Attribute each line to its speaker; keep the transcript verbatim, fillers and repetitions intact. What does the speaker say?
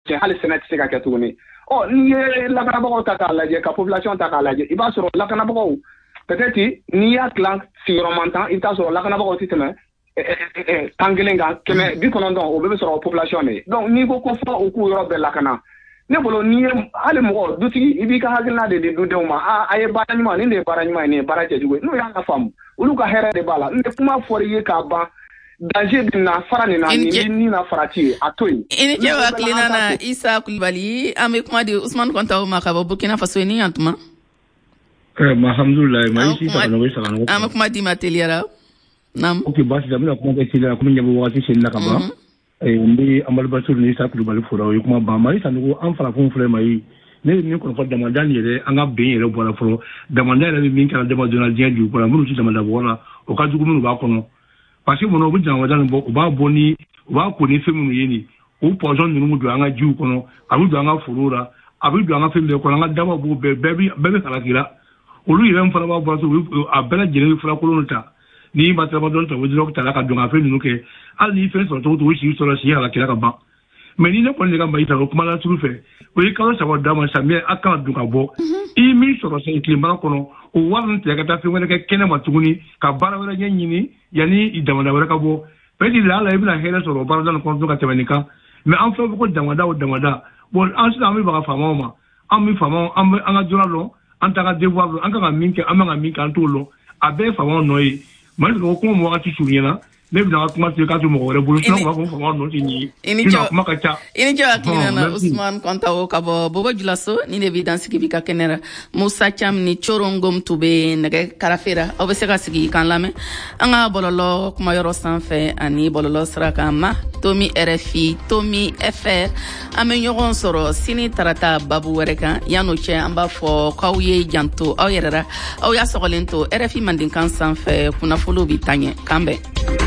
Speaker 1: Hali sɛnɛ tɛ se ka kɛ tuguni. Ɔ, n'i ye lakanabagaw ta k'a lajɛ, ka population ta k'a lajɛ, i b'a sɔrɔ lakanabagaw, peut-être n'i y'a tilan sigiyɔrɔma tan, i bɛ taa sɔrɔ lakanabagaw tɛ tɛmɛ tan kelen kan, kɛmɛ bi kɔnɔntɔn o bɛɛ bɛ sɔrɔ population de ye. Donc n'i ko ko fɔ u k'u yɔrɔ bɛɛ lakana, ne bolo, n'i ye hali mɔgɔ dutigi, i b'i ka hakilina de di dudenw ma: a a ye baara ɲuman, nin de ye baara ɲuman ye, nin ye baara cɛjugu ye. N'u y'a faamu, olu ka hɛrɛ de b'a la. N kuma fɔra i ye k'a ban, danger bɛ na fara nin na, nin ni na farati ye, a to yen.
Speaker 2: I ni ce hakilina na, Isa Kulibali. An bɛ kuma di Usumani Kɔntaw ma ka bɔ Burkina Faso. Ni yan tuma.
Speaker 3: Alhamdulilayi, maa si saganogo saganogo.
Speaker 2: An bɛ kuma di ma teliyara. Naam.
Speaker 3: Ok, baasi tɛ. N bɛna kuma kɛ teliya la, komi ɲɛ bɛ wagati seli la ka ban. N bɛ Amadu Basiru ni Isa Kulubali fora, o ye kuma ban. Mali Sanogo, an farafinw filɛ, Mali, ne ye min kɔni fɔ, damada nin yɛrɛ, an ka bɛn yɛrɛ bɔra fɔlɔ. Damada yɛrɛ bɛ min kɛra damadonna diɲɛ dugukolo la, minnu tɛ damada bɔ la, o ka jugu minnu b'a kɔnɔ, parce que mun na u bɛ damada nin bɔ? U b'a bɔ ni, u b'a ko ni fɛn minnu ye nin, o poison ninnu bɛ don an ka jiw kɔnɔ, a bɛ don an ka forow la, a bɛ don an ka fɛn bɛɛ kɔnɔ, an ka dabaw b'o bɛɛ bɛɛ bɛ bɛɛ bɛ halaki la. Olu yɛrɛ fana b'a bɔ, a bɛɛ lajɛlen bɛ furakolon ta, n'i ma tramadol ta, o bɛ drogue ta la ka don ka fɛn ninnu kɛ. Hali n'i fɛn sɔrɔ cogo o cogo, si sɔrɔ, si halakila ka ban. Mais ni ne kɔni de ka Mali ta, o kuma lasuru fɛ, o ye kalo saba d'a ma, samiyɛ a kan ka don ka bɔ, i ye min sɔrɔ sa tilema kɔnɔ, o wari ninnu tigɛ ka taa fɛn wɛrɛ kɛ kɛnɛ ma tuguni, ka baara wɛrɛ ɲɛ ɲini yanni damada wɛrɛ ka bɔ. Peut-être la, i bɛna hɛrɛ sɔrɔ o baarada nin kɔnɔ ka tɛmɛ nin kan. Mais an fɛn fɔ ko damada, o damada, bon, an sisan an bɛ baga faamaw ma. An bɛ faamaw, an bɛ an ka droit lɔn, an t'an ka devoir lɔn, an kan ka min kɛ, an man ka min kɛ, an t'o lɔn. A bɛɛ ye faamaw nɔ ye. Mali ko kuma wagati surunyana, ne bɛna ka kuma to k'a to mɔgɔ wɛrɛ bolo, sinon b'a fɔ faamaw nɔ tɛ nin ye.
Speaker 2: I ni ce,
Speaker 3: kuma ka ca.
Speaker 2: I ni ce hakilina na, Usman Kɔntawo ka bɔ Bobo Julaso. Ni de b'i dansigi bi ka kɛnɛ la. Musa Cam ni Coro Ngom tun bɛ nɛgɛ karafe la. Aw bɛ se ka sigi k'an lamɛn an ka bɔlɔlɔ kumayɔrɔ sanfɛ ani bɔlɔlɔ sira kan, ma tomi R F I tomi F R. An bɛ ɲɔgɔn sɔrɔ sini tarata babu wɛrɛ kan. Yan'o cɛ, an b'a fɔ k'aw ye janto aw yɛrɛ la, aw y'a sɔgɔlen to R F I Mandenkan sanfɛ, kunnafoniw bɛ taa ɲɛ. K'an bɛn.